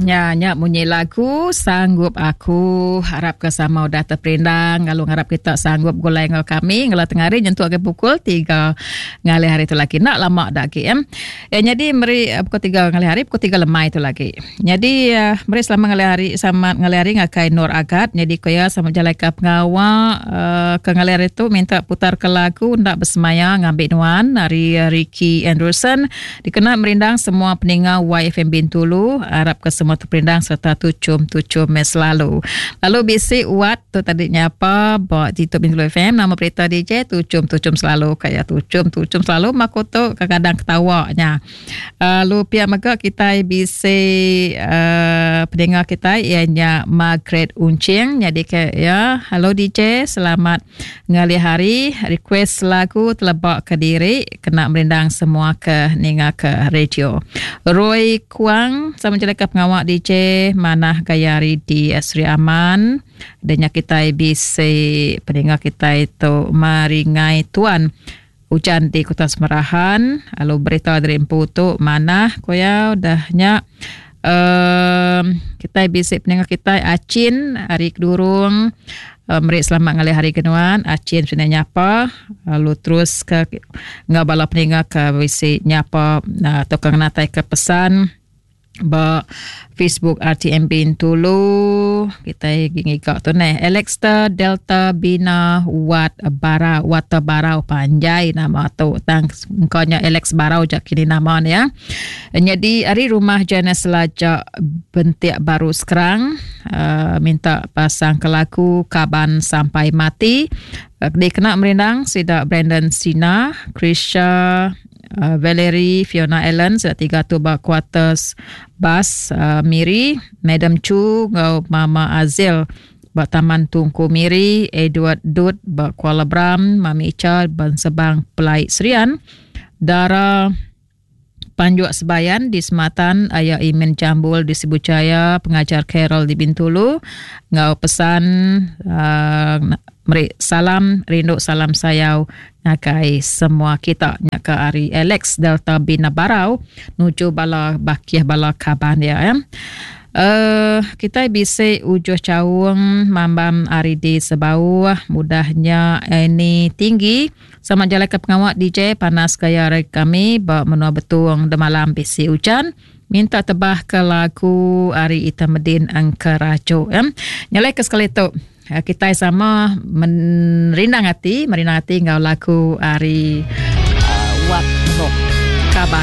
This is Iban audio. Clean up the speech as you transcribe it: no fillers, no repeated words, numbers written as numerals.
Nya nya munyi lagu sanggup aku harap ke sama udah terperindang lalu ngarap kita sanggup gulai enggau kami ngela tengah hari nyentuk ke pukul 3 ngalih hari tu lagi enda lama dak agi ya. Eh nyadi meri eh, pukul 3 ngalih hari pukul 3 lemai tu lagi. Nyadi eh, meri selamat ngalih hari selamat ngalih hari ngagai Nur Agat nyadi ko iya sama jalai ke pengawa eh, ke ngalih hari tu minta putar ke lagu enda besemaya ngambi nuan ari Ricky Anderson Dikena merindang semua peninga YFM Bintulu, arapka semua teperindang sereta tuchum-tuchum meh selalu. Lalu bisi wat tu tadi nyapa ba TikTok Bintulu FM nama berita DJ tuchum-tuchum selalu kaya tuchum-tuchum selalu maku tu kadang ketawa nya. Lalu pia mega kitai bisi uh, peninga kitai iya nya Margaret Unching nyadi ke ya hello DJ selamat Ngalih hari, request lagu teleba ke diri kena merindang semua ke ninga ke radio. Roy Kuang sama jeleka pengawa DJ manah gaya hari di Sri Aman. Denya kitai bisi peninga kitai tu Maringai Tuan. Ujan di Kota Semerahan lalu berita dari empu tu manah ku iya udah nya um, kitai bisi peninga kitai Achin ari Kedurung uh, meri selamat ngalih hari ke nuan Achin sina nyapa lalu terus ke enggau bala peninga ke bisi nyapa uh, atau ke ngenatai ke pesan Ba Facebook RTM Bintulu kitai agi ngiga tu neh Alexter Delta Bina Wat Barau Water Barau panjai nama tu tang engka nya Alex Barau ja kini nama ne ya. Nyadi ari rumah Janice Laja Bentik Baru Skrang uh, minta pasang ke lagu Kaban Sampai Mati uh, dikena merindang sida Brandon Sina, Krisha Uh, Valerie Fiona Allen sida tiga tu ba quarters bas uh, Miri, Madam Chu enggau Mama Azil ba Taman Tungku Miri, Edward Dut ba Kuala Bram, Mami Icha ba Sebang Pelai Serian, Dara Panjuk Sebayan di Sematan, Aya Imin Jambul di Sibu Jaya, Pengajar Carol di Bintulu enggau pesan uh, meri salam rindu salam sayau ngagai semua kita nya ke ari Alex Delta Bina Barau nuju bala bakih bala kaban dia ya. Uh, kita bisi ujuh chaung mambam ari di Sebauh mudahnya ini tinggi sama jalai ke pengawa DJ panas gaya hari kami ba menua Betung demalam bisi ujan minta tebah ke lagu ari Ita Medin Engkerajo ya. Nyalai ke sekali tu Eh, kitai sama merindang ati, merindang ati enggau lagu ari uh, Wat Rock Kaban.